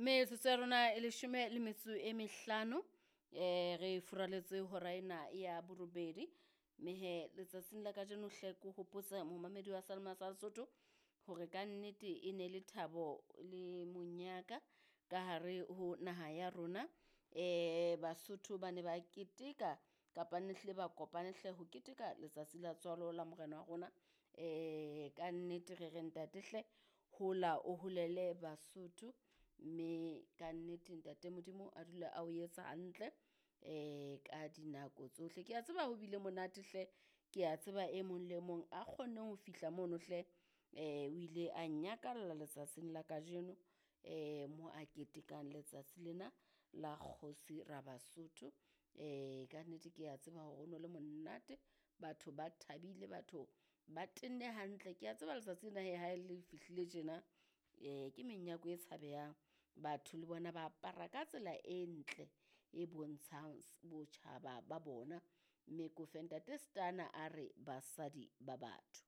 Metsotso ya rona e leshome le metso e mehlano re furaletse hora ena ya borobedi. Mme hee letsatsing la kajeno hle ke hopotse momamedi wa Sealemoya sa Lesotho hore kannete e ne le thabo le monyaka ka hare ho naha ya rona. Basotho ba ne ba keteka kapa ne hlile ba kopane hle ho keteka letsatsi la tswalo la morena wa rona. Kannete re re ntate hle hola o holele Basotho, mme kannete ntate Modimo a dule a o etsa hantle ka dinako tsohle. Kea tseba ho bile monate hle, kea tseba e mong le mong a kgonneng ho fihla mono hle o ile a nyakalla letsatsing la kajeno mo a ketekang letsatsi lena la kgosi Rabasotho. Kannete kea tseba hore ho no le monate, batho ba thabile, batho ba tenne hantle. Kea tseba letsatsi lena hee ha le fihlile tjena ke menyako e tshabehang. Batho le bona ba apara ka tsela e ntle e bontshang botjhaba ba bona, mme ke o fe ntate Stunna a re, basadi ba batho.